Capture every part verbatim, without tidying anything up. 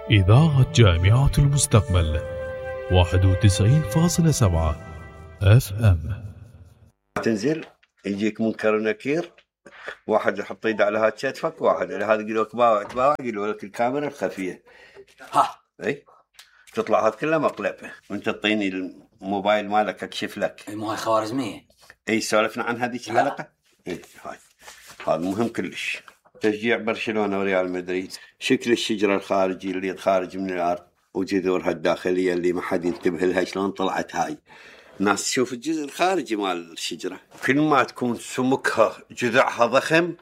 إذاعة جامعة المستقبل واحد وتسعين فاصلة سبعة اف ام. تنزل يجيك منكر ونكير، واحد يحط يده على هاد كتفك، واحد على هذا يقول لك باوع باوع، يقول لك الكاميرا الخفيه ها اي تطلع هاد كلها مقلبه، وانت تطيني الموبايل مالك اكشف لك. اي مو هاي خوارزميه. اي سولفنا عن هذيك الحلقه. اي هاي هذا مهم كلش. تشجيع برشلونه وريال مدريد، شكل الشجره الخارجي اللي خارج من الارض وجذورها الداخليه اللي ما حد ينتبه لها شلون طلعت هاي. الناس تشوف الجزء الخارجي مال الشجرة، كل ما تكون سمكها جذعها ضخم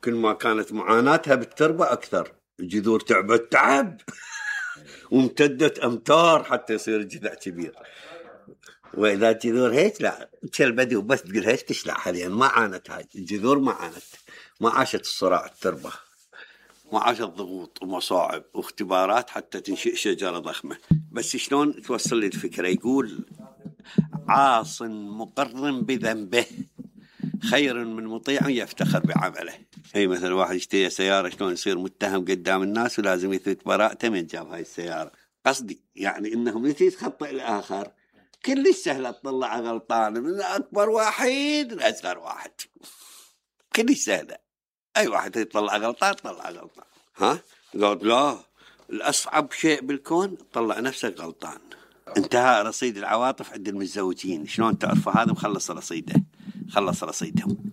كل ما كانت معاناتها بالتربة أكثر. الجذور تعبت تعب وامتدت أمتار حتى يصير الجذع كبير. وإذا الجذور هيك لا تشلبدي وبس تقول هيك تشلع حاليا. ما عانت هاي الجذور، ما عانت، ما عاشت الصراع التربة، ما عاشت ضغوط ومصاعب واختبارات حتى تنشئ شجرة ضخمة. بس شلون توصل لي الفكرة؟ يقول عاص مقر بذنبه خير من مطيع يفتخر بعمله. هي مثل واحد يشتري سيارة شلون يصير متهم قدام الناس ولازم يثبت براءته من جاب هاي السيارة. قصدي يعني انهم يتخطئ الآخر كل سهلة تطلع غلطان من أكبر واحد لأصغر واحد، كل سهلة. أي واحد يطلع غلطان طلع غلطان. ها قال لا، الأصعب شيء بالكون تطلع نفسك غلطان. انتهى رصيد العواطف عند المتزوجين. شلون تعرفوا هذا مخلص رصيده؟ خلص رصيدهم.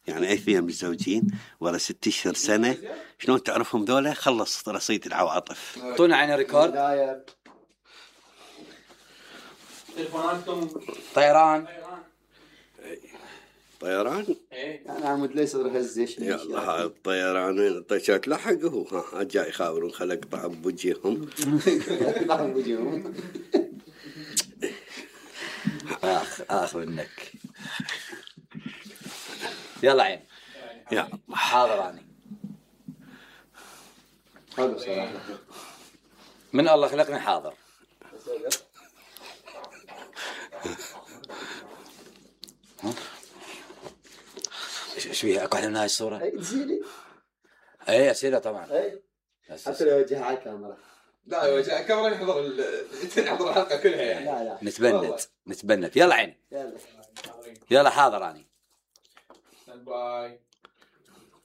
يعني اي اثنين متزوجين ورا ست اشهر سنه شلون تعرفهم ذولا؟ خلص رصيد العواطف. اعطونا عين الريكورد. تلفوناتكم طيران طيران؟ ايه انا عمود ليس هزش يلا هذا الطيران طيشات لحق هو ها جاي يخابرون خلق طعب بوجههم. طعب بوجههم. اخ اخ منك. يلا عين. يا حاضر اني. حلو صراحه. من الله خلقني حاضر. ايش فيها؟ اكو احلى من هاي الصوره؟ اي تزيلي. اي اسئله طبعا. اي حتى لو وجهها على الكاميرا. لا وجه الكاميرا يحضر يحضر الحلقه كلها يعني. لا لا نتبنت نتبنت. يلا عيني. يلا يلا حاضر اني. ستاند باي.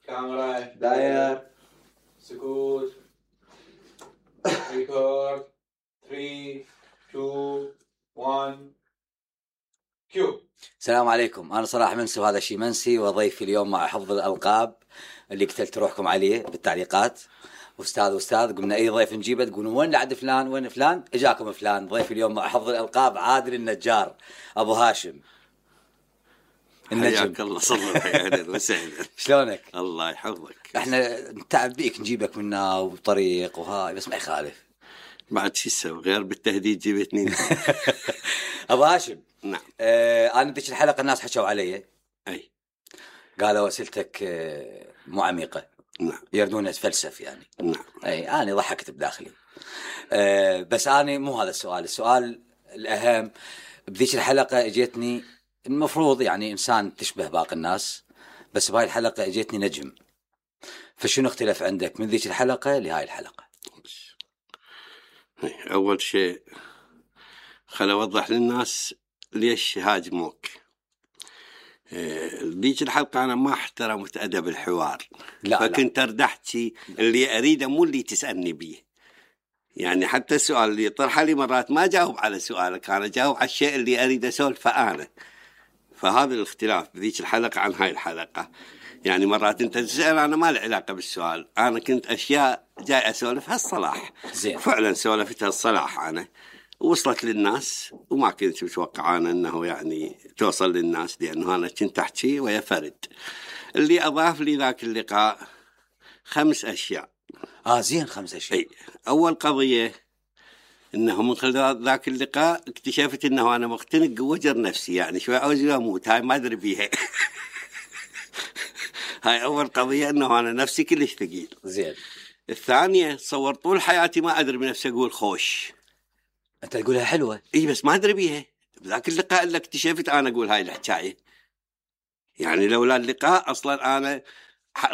كاميرا داير سكوت ريكورد ثلاثة اثنين واحد كيو. السلام عليكم، انا صلاح منسي وهذا شي منسي، وضيفي اليوم مع حفظ الالقاب اللي قتلت روحكم عليه بالتعليقات. استاذ واستاذ قلنا اي ضيف نجيبه تقولون وين عند فلان وين فلان، اجاكم فلان. ضيفي اليوم مع حفظ الالقاب عادل النجار ابو هاشم النجم. حياك الله صلى اهلا وسهلا. شلونك؟ الله يحفظك. احنا نتعب بيك نجيبك منا وطريق وهاي بس ما يخالف. بعد شو تسوي غير بالتهديد جيبتني. ابو هاشم. نعم. آه انا ذيك الحلقه الناس حكوا علي. اي قالوا اسئلتك آه مو عميقه. نعم. يردون اتفلسف يعني. نعم. اي انا ضحكت بداخلي. أه بس انا مو هذا السؤال، السؤال الاهم بذيك الحلقه اجتني المفروض يعني انسان تشبه باقي الناس، بس بهاي الحلقه اجتني نجم. فشنو اختلف عندك من ذيك الحلقه لهاي الحلقه؟ اول شيء خل اوضح للناس ليش هاجموك. ذيك الحلقة أنا ما احترمت أدب الحوار. لا فكنت أردحت شيء اللي أريده مو اللي تسألني بيه. يعني حتى السؤال اللي طرح لي مرات ما جاوب على سؤالك، أنا جاوب على الشيء اللي أريد أسولفه أنا. فهذا الاختلاف بذيك الحلقة عن هاي الحلقة. يعني مرات أنت تسأل أنا ما له علاقة بالسؤال، أنا كنت أشياء جاي أسولفها الصلاح. زين. فعلا سولفتها الصلاح أنا وصلت للناس، وما كنت متوقع أنا أنه يعني توصل للناس، لأنه أنا كنت أحكي ويا فرد. اللي أضاف لي ذاك اللقاء خمس أشياء. آه زين خمس أشياء. أي. أول قضية أنه من خلال ذاك اللقاء اكتشفت أنه أنا مختنق وجر نفسي، يعني شوي عاوز أموت، هاي ما أدري بيها. هاي أول قضية، أنه أنا نفسي كلش ثقيل. زين. الثانية تصور طول حياتي ما أدري بنفسي أقول خوش. أنت تقولها حلوة. إيه بس ما أدري بيها. بذاك اللقاء اللي اكتشفت أنا أقول هاي الحكاية. يعني لولا اللقاء أصلا أنا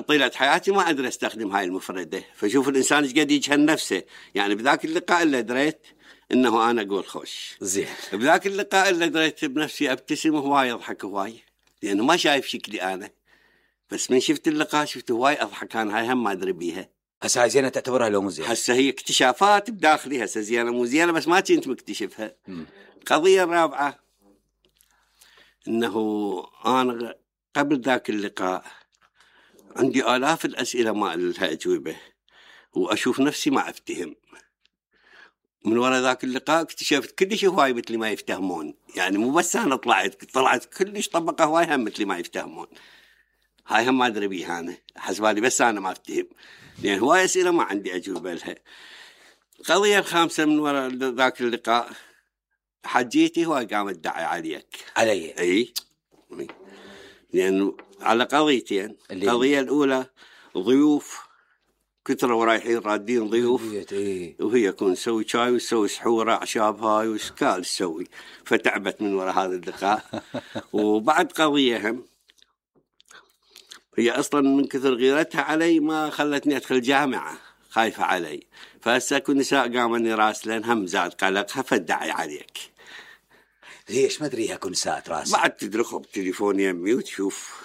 طيلة حياتي ما أدري أستخدم هاي المفردة. فشوف الإنسان إيش قد يجهل نفسه. يعني بذاك اللقاء اللي دريت إنه أنا أقول خوش زين. بذاك اللقاء اللي دريت بنفسي أبتسم وهواي أضحك هواي، لأنه ما شايف شكلي أنا، بس من شفت اللقاء شفت هواي أضحك أنا. هاي هم ما أدري بيها. هسه هاي زينة تعتبرها لو مو زينة؟ هسه هي اكتشافات بداخلي. هسه زينة مو زينة بس ما كنت مكتشفها. القضية الرابعة إنه أنا قبل ذاك اللقاء عندي آلاف الأسئلة ما لها أجوبة، وأشوف نفسي ما أفتهم. من وراء ذاك اللقاء اكتشفت كلش هواي مثل ما يفتهمون. يعني مو بس أنا طلعت طلعت كلش طبقة هواي هم مثل ما يفتهمون. هاي هم ما أدري بيها أنا، حسبالي بس أنا ما أفتهم، لأن يعني هواي أسئلة ما عندي أجوبة لها. القضية الخامسة من وراء ذاك اللقاء حجيتي هواي قامت تدعي عليك. علي؟ أي، لأنه على قضيتين. القضية الأولى ضيوف كثرة ورايحين رادين ضيوف، إيه؟ وهي كون نسوي شاي وسوي سحورة أعشاب هاي وسكال تسوي، فتعبت من وراء هذا اللقاء. وبعد قضية هم هي أصلا من كثر غيرتها علي ما خلتني أدخل جامعة، خايفة علي. فهسه كل نساء قامني راسلين هم زاد قلقها فدعي عليك. ليش ما أدريها كل نساء راس؟ بعد تدرخوا بتليفون يمي وتشوف.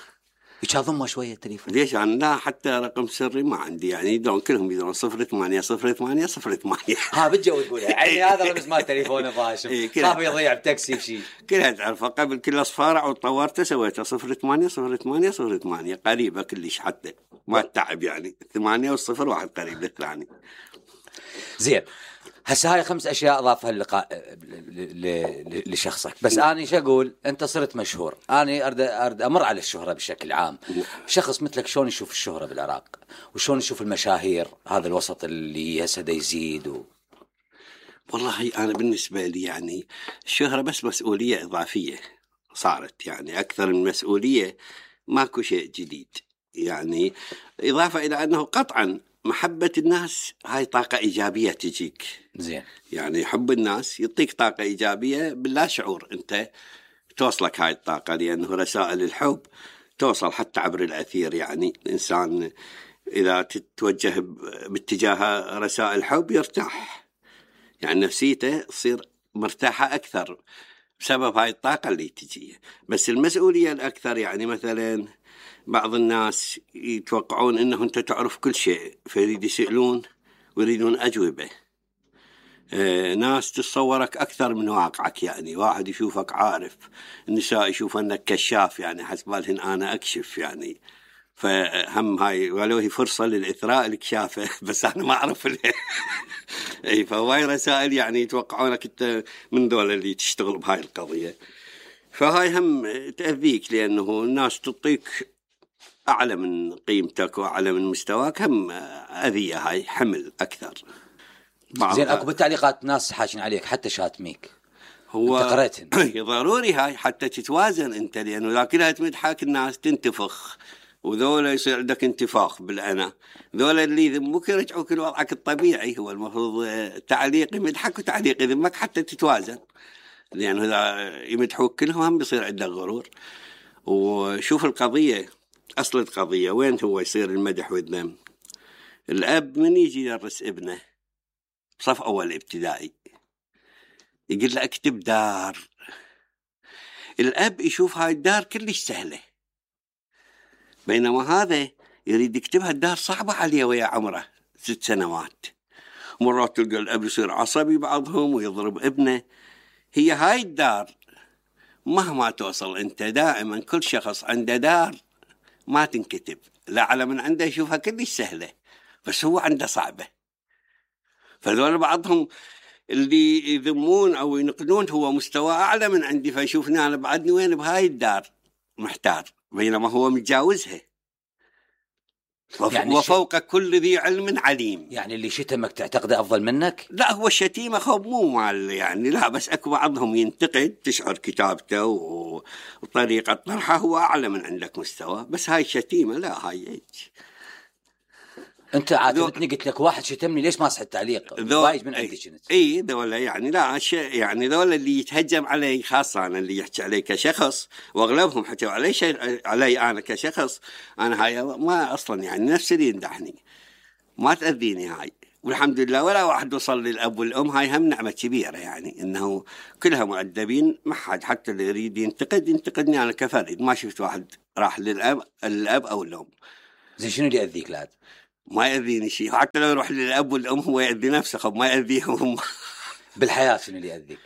إيش أضمه شوية التليفون؟ ليش أنا لا حتى رقم سري ما عندي، يعني يدرون كلهم يدرون صفر ثمانية صفر ثمانية صفر ثمانية. ها بتجو تقولها يعني هذا رمز مال تليفونه فاشل. خاف يضيع بتاكسي بشي. كلها تعرفها قبل كل أصفارع وطورته سويتها صفر ثمانية صفر ثمانية صفر ثمانية قريبة كلش حتى ما تعب يعني. ثمانية والصفر واحد قريب للثاني. زين. هسه هاي خمس أشياء أضافها اللقاء لشخصك. بس أنا إيش أقول؟ أنت صرت مشهور. أنا أرد أرد أمر على الشهرة بشكل عام. شخص مثلك شلون يشوف الشهرة بالعراق؟ وشلون يشوف المشاهير؟ هذا الوسط اللي هسه دا يزيد و... والله أنا بالنسبة لي يعني الشهرة بس مسؤولية إضافية صارت، يعني أكثر من مسؤولية. ماكو شيء جديد يعني، إضافة إلى أنه قطعاً محبة الناس هاي طاقة إيجابية تجيك. زين. يعني حب الناس يعطيك طاقة إيجابية باللا شعور، أنت توصلك هاي الطاقة، لأنه رسائل الحب توصل حتى عبر الأثير. يعني الإنسان إذا تتوجه باتجاه رسائل الحب يرتاح، يعني نفسيته تصير مرتاحة أكثر بسبب هاي الطاقة اللي تجي. بس المسؤولية الأكثر يعني مثلاً بعض الناس يتوقعون أنه أنت تعرف كل شيء فيريد يسألون ويريدون أجوبة. آه ناس تتصورك أكثر من واقعك، يعني واحد يشوفك عارف، النساء يشوف أنك كشاف، يعني حسبالهن أنا أكشف يعني. فهم هاي ولو هي فرصة للإثراء الكشافة بس أنا ما أعرف ليه. أي فهواي رسائل يعني يتوقعونك أنت من دول اللي تشتغل بهاي القضية. فهاي هم تأذيك، لأنه الناس تعطيك أعلى من قيمتك وأعلى من مستواك، هم أذية، هاي حمل أكثر. زين. أكو بالتعليقات ناس حاشين عليك حتى شاتميك، هو أنت قرأتهن. ضروري هاي حتى تتوازن أنت، لأنه لا كلها تمدحك الناس تنتفخ، وذولا يصير عندك انتفاخ بالأنا. ذولا اللي يذمك يرجعوك لوضعك الطبيعي. هو المفروض تعليق يمدحك وتعليق يذمك حتى تتوازن، لأنه إذا يمدحوك كلهم هم بيصير عندك غرور. وشوف القضية، أصل القضية وين هو يصير المدح والذم؟ الأب من يجي يدرس ابنه بصف أول ابتدائي يقول له اكتب دار، الأب يشوف هاي الدار كلش سهلة، بينما هذا يريد يكتبها الدار صعبة عليه ويا عمره ست سنوات. مرات تلقى الأب يصير عصبي بعضهم ويضرب ابنه. هي هاي الدار مهما توصل أنت دائما كل شخص عنده دار ما تنكتب، لا على من عنده يشوفها كلش سهلة بس هو عنده صعبة. فذول بعضهم اللي يذمون أو ينقدون هو مستوى أعلى من عندي، فيشوفني أنا بعدني وين بهاي الدار محتار، بينما هو متجاوزها. وف... يعني وفوق ش... كل ذي علم عليم. يعني اللي شتمك تعتقده أفضل منك؟ لا، هو الشتيمة خب مو مال يعني، لا، بس أكو بعضهم ينتقد تشعر كتابته و... وطريقة طرحه هو أعلى من عندك مستوى، بس هاي الشتيمة لا، هاي إيش انت عاتبتني قلت لك واحد شتمني ليش ما صح التعليق وايد من عندي كنت اي ذولا يعني لا شيء يعني ذولا اللي يتهجم علي خاصه انا اللي يحكي علي كشخص واغلبهم حكوا علي شيء علي انا كشخص انا هاي ما اصلا يعني نفس اللي يمدحني ما تاذيني هاي والحمد لله ولا واحد وصل للاب والام هاي هم نعمه كبيره يعني انه كلها مؤدبين ما حد حتى اللي يريد ينتقد ينتقدني انا كفرد ما شفت واحد راح للاب الاب او الام. زين شنو اللي يأذيك لاد؟ ما يأذيني شيء حتى لو يروح للأب والأم هو يأذي نفسه خب ما يأذيهم. بالحياة شنو اللي يأذيك؟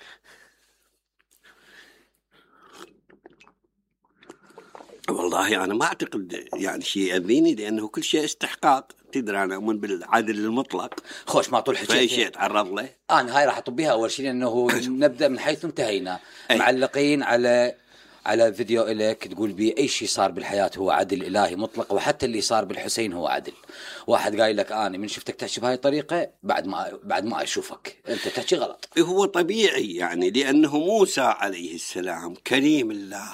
والله أنا ما أعتقد يعني شيء يأذيني لأنه كل شيء استحقاق تدري أنا أؤمن بالعدل المطلق. خوش ما طول حكيت فأي شيء تعرض له. أنا هاي راح أطب بها أول شيء لأنه نبدأ من حيث انتهينا معلقين على على فيديو إليك تقول بي أي شيء صار بالحياة هو عدل إلهي مطلق وحتى اللي صار بالحسين هو عدل. واحد قايل لك أنا من شفتك تحكي بهاي الطريقة بعد ما بعد ما أشوفك أنت تحكي غلط. هو طبيعي يعني لأنه موسى عليه السلام كريم الله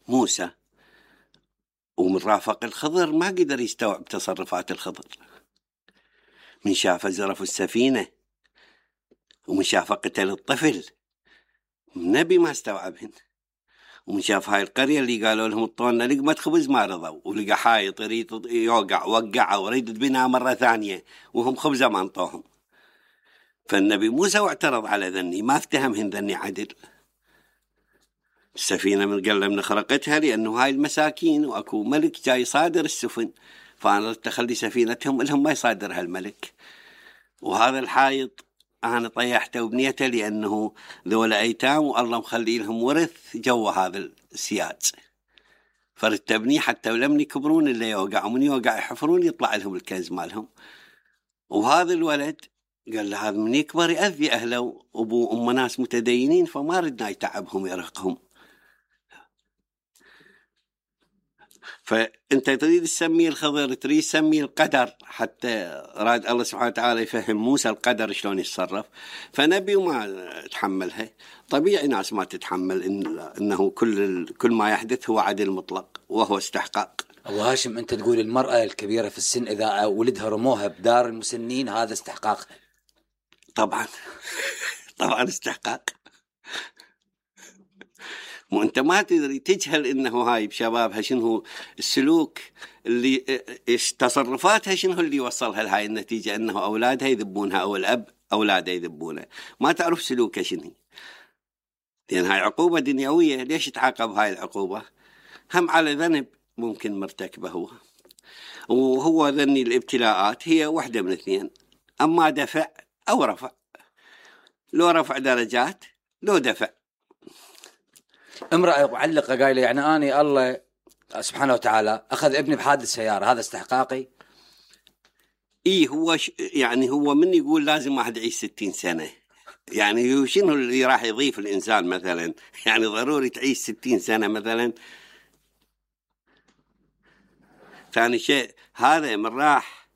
موسى ومن رافق الخضر ما قدر يستوعب تصرفات الخضر. من شاف زرف السفينة ومن شاف قتل الطفل النبي ما استوعبهن. ومن شاف هاي القرية اللي قالوا لهم اطونا لقمة خبز ما رضوا ولقى حايط يريد يوقع وقعه وريد بناء مرة ثانية وهم خبزة ما انطوهم. فالنبي موسى واعترض على ذني ما افتهمهن ذني عدل. السفينة من قال من خرقتها لأنه هاي المساكين وأكو ملك جاي صادر السفن فأنا تخلي سفينتهم لهم ما يصادرها الملك. وهذا الحايط أنا طيحته وبنيته لأنه ذولا أيتام والله مخلي لهم ورث جو هذا السياج فرتبني حتى ولم يكبرون اللي يوقع ومن يوقع يحفرون يطلع لهم الكنز مالهم. وهذا الولد قال له هذا من يكبر يأذي أهله وأبو وأم ناس متدينين فما ردنا يتعبهم يرهقهم. فأنت تريد تسميه الخضر تريد تسميه القدر حتى راد الله سبحانه وتعالى يفهم موسى القدر شلون يتصرف فنبي وما تحملها. طبيعي ناس ما تتحمل إن إنه كل كل ما يحدث هو عدل مطلق وهو استحقاق. أبو هاشم أنت تقول المرأة الكبيرة في السن إذا ولدها رموها بدار المسنين هذا استحقاقها. طبعا طبعا استحقاق. وانت ما تدري تجهل انه هاي بشبابها شنو السلوك اللي تصرفاتها شنو اللي وصلها لهاي النتيجة انه اولادها يذبونها او الاب اولاده يذبونه ما تعرف سلوكها شنو لان هاي عقوبة دنيوية. ليش تعاقب هاي العقوبة؟ هم على ذنب ممكن مرتكبه هو وهو ذني الابتلاءات هي واحدة من اثنين اما دفع او رفع. لو رفع درجات لو دفع. امرأة معلقة قايلة يعني أنا الله سبحانه وتعالى أخذ ابني بحادث سيارة هذا استحقاقي؟ إيه هو ش... يعني هو من يقول لازم واحد يعيش ستين سنة يعني شنو اللي راح يضيف الإنسان مثلا يعني ضروري تعيش ستين سنة مثلا. ثاني شيء هذا من راح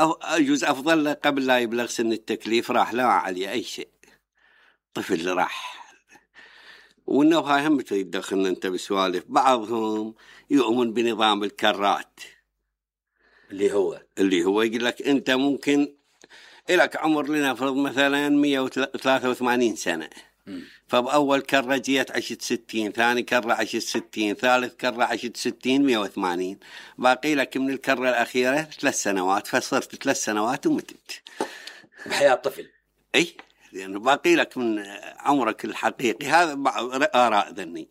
أو أجوز أفضل له قبل لا يبلغ سن التكليف راح لا عليه أي شيء طفل اللي راح. وإنه هاي هم تدخلنا أنت بسوالف. بعضهم يؤمن بنظام الكرات اللي هو اللي هو يقول لك أنت ممكن إلك عمر لنفرض مثلا مية وثلاثة وثمانين سنة م. فبأول كرة جيت عشت ستين ثاني كرة عشت ستين ثالث كرة عشت ستين مية وثمانين باقي لك من الكرة الأخيرة ثلاث سنوات فصرت ثلاث سنوات ومتت بحياة طفل. أي لأنه باقي لك من عمرك الحقيقي. هذا آراء ذني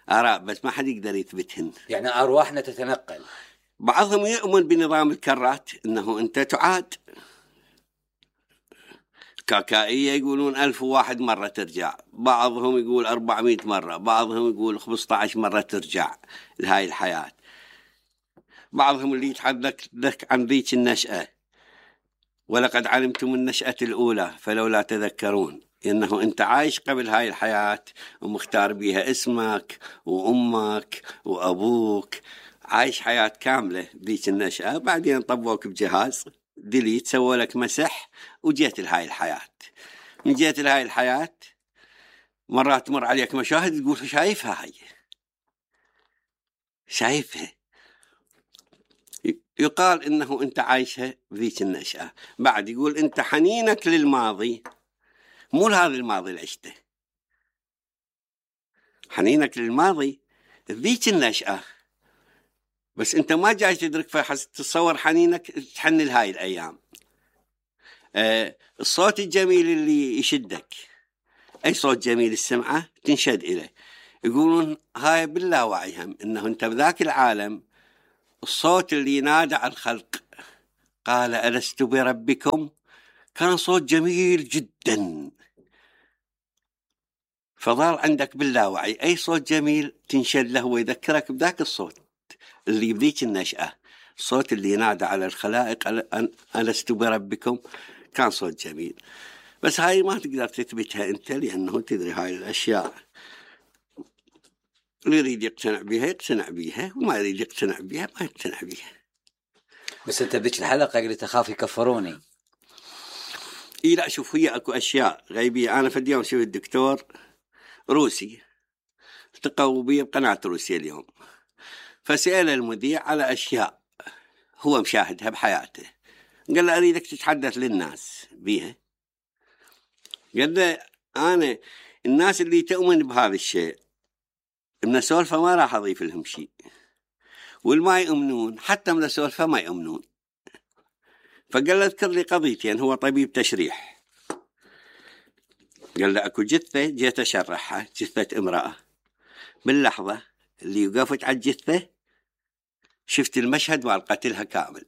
آراء بس ما حد يقدر يثبتهن. يعني أرواحنا تتنقل. بعضهم يؤمن بنظام الكرات إنه أنت تعاد كاكائية يقولون ألف وواحد مرة ترجع بعضهم يقول أربعمائة مرة بعضهم يقول خمسة عشر مرة ترجع لهاي الحياة. بعضهم اللي يتحدث لك عن ذيك النشأة ولقد علمتم النشأة الأولى فلولا تذكرون إنه أنت عايش قبل هاي الحياة ومختار بيها اسمك وأمك وأبوك عايش حياة كاملة ذيك النشأة بعدين طبوك بجهاز ديليت سووا لك مسح وجيت لهاي الحياة. من جيت لهاي الحياة مرات تمر عليك مشاهد تقول شايفها هاي شايفها يقال إنه أنت عايشها بذيك النشأة. بعد يقول أنت حنينك للماضي مو لهذا الماضي اللي عشته، حنينك للماضي ذيك النشأة، بس أنت ما جاي تدرك فحس تتصور حنينك تحن لهاي الأيام. آه الصوت الجميل اللي يشدك، أي صوت جميل السمعة تنشد إليه. يقولون هاي باللاوعي هم إنه أنت بذاك العالم الصوت اللي ينادى على الخلق قال ألست بربكم كان صوت جميل جدا، فظل عندك باللاوعي أي صوت جميل تنشد له ويذكرك بذاك الصوت اللي بذيك النشأة، الصوت اللي ينادى على الخلائق ألست بربكم كان صوت جميل. بس هاي ما تقدر تثبتها أنت، لأنه تدري هاي الأشياء اللي يريد يقتنع بها يقتنع بها، وما يريد يقتنع بها ما يقتنع بها. بس أنت بذيك الحلقة قلت أخاف يكفروني. إيه لا شوف، هي أكو أشياء غيبية. أنا في اليوم شوف الدكتور روسي التقوا بي بقناة روسيا اليوم، فسأل المذيع على أشياء هو مشاهدها بحياته، قال له أريدك تتحدث للناس بيها. قال له أنا الناس اللي تؤمن بهذا الشيء من سولفة ما راح أضيف لهم شيء، والما يؤمنون حتى من سولفة ما يؤمنون. فقال له اذكر لي قضيتين، هو طبيب تشريح. قال له أكو جثة جيت أشرحها، جثة امرأة، باللحظة اللي وقفت على الجثة شفت المشهد مال قتلها كامل،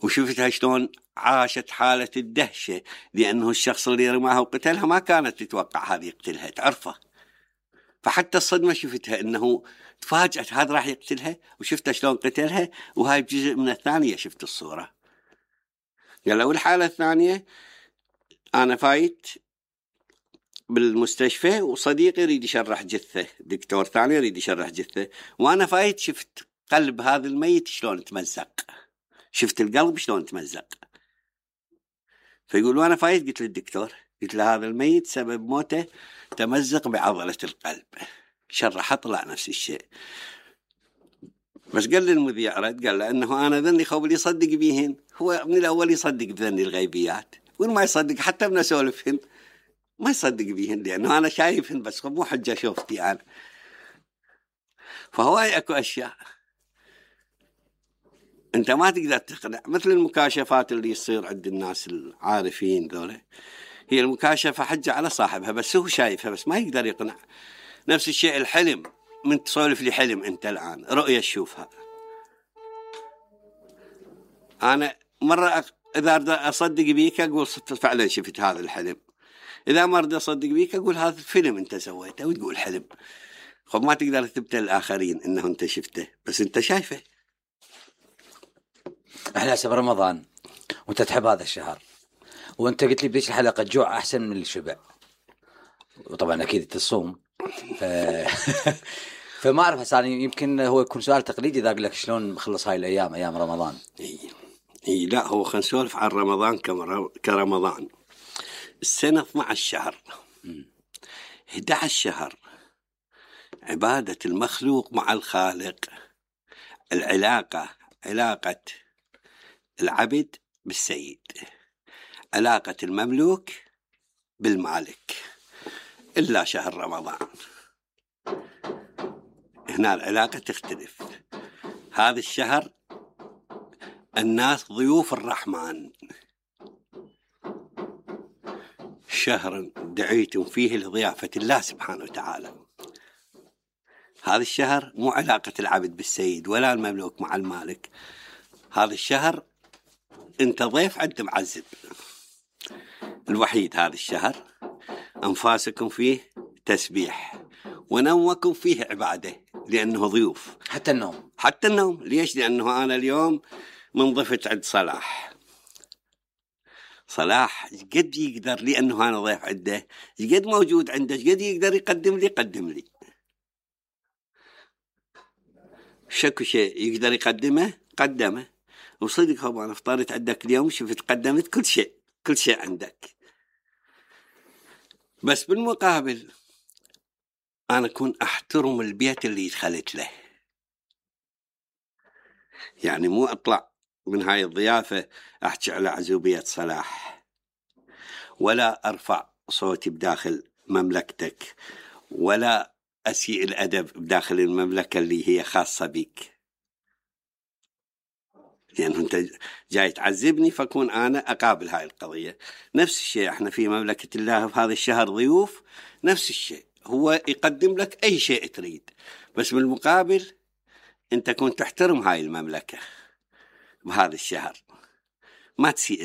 وشفتها شلون عاشت حالة الدهشة، لأنه الشخص اللي رماها وقتلها ما كانت تتوقع هذا يقتلها، تعرفه. فحتى الصدمة شفتها إنه تفاجأت هذا راح يقتلها، وشفتها شلون قتلها، وهاي بجزء من الثانية شفت الصورة. قال له والحالة الثانية أنا فايت بالمستشفى وصديقي يريد يشرح جثة، دكتور ثاني يريد يشرح جثة، وأنا فايت شفت قلب هذا الميت شلون تمزق، شفت القلب شلون تمزق. فيقول وأنا فايت قلت للدكتور، قلت له هذا الميت سبب موته تمزق بعضلة القلب. شرح طلع نفس الشيء. بس قال للمذيع رد قال له أنه أنا ذني خوف اللي يصدق بيهن، هو من الأول يصدق بذني الغيبيات، وما يصدق حتى من أسولفهن ما يصدق بيهن، لأنه أنا شايفهن بس مو حجة شوفتي أنا. فهو أكو أشياء أنت ما تقدر تقنع، مثل المكاشفات اللي يصير عند الناس العارفين ذولا، هي المكاشفة حجة على صاحبها بس هو شايفها بس ما يقدر يقنع. نفس الشيء الحلم، من تسولف لي حلم أنت الآن رؤية تشوفها، أنا مرة إذا أصدق بيك أقول فعلا شفت هذا الحلم، إذا ما أريد أصدق بيك أقول هذا الفيلم أنت سويته وتقول حلم. خب ما تقدر تثبت للآخرين إنه أنت شفته بس أنت شايفه. احنا هسه برمضان وانت تحب هذا الشهر، وانت قلت لي بديش الحلقه الجوع احسن من الشبع، وطبعا اكيد تصوم. ف... فما اعرف هسه يمكن هو يكون سؤال تقليدي اذا اقول لك شلون مخلص هاي الايام ايام رمضان. اي اي لا هو خلينا نسولف عن رمضان كمر... كرمضان. السنه اثنا عشر شهر، احد عشر شهر عباده المخلوق مع الخالق، العلاقه علاقه العبد بالسيد، علاقة المملوك بالمالك، إلا شهر رمضان هنا العلاقة تختلف. هذا الشهر الناس ضيوف الرحمن، شهر دعيتم فيه لضيافة الله سبحانه وتعالى. هذا الشهر مو علاقة العبد بالسيد ولا المملوك مع المالك، هذا الشهر انت ضيف عند معذب. الوحيد هذا الشهر أنفاسكم فيه تسبيح ونومكم فيه عبادة، لأنه ضيوف. حتى النوم، حتى النوم ليش؟ لأنه أنا اليوم منضفت عند صلاح، صلاح قد يقدر لأنه أنا ضيف عنده، قد موجود عنده، قد يقدر يقدم لي قدم لي شكو شيء يقدر يقدمه قدمه. وصدق هو أنا فطرت عندك اليوم شفت قدمت كل شيء كل شيء عندك، بس بالمقابل أنا أكون أحترم البيت اللي دخلت له. يعني مو أطلع من هاي الضيافة أحكي على عزوبية صلاح، ولا أرفع صوتي بداخل مملكتك، ولا أسيء الأدب بداخل المملكة اللي هي خاصة بك. يعني أنت جاي تعذبني فكون أنا أقابل هاي القضية. نفس الشيء احنا في مملكة الله في هذا الشهر ضيوف، نفس الشيء هو يقدم لك أي شيء تريد، بس بالمقابل أنت كنت تحترم هاي المملكة بهذا الشهر، ما تسيء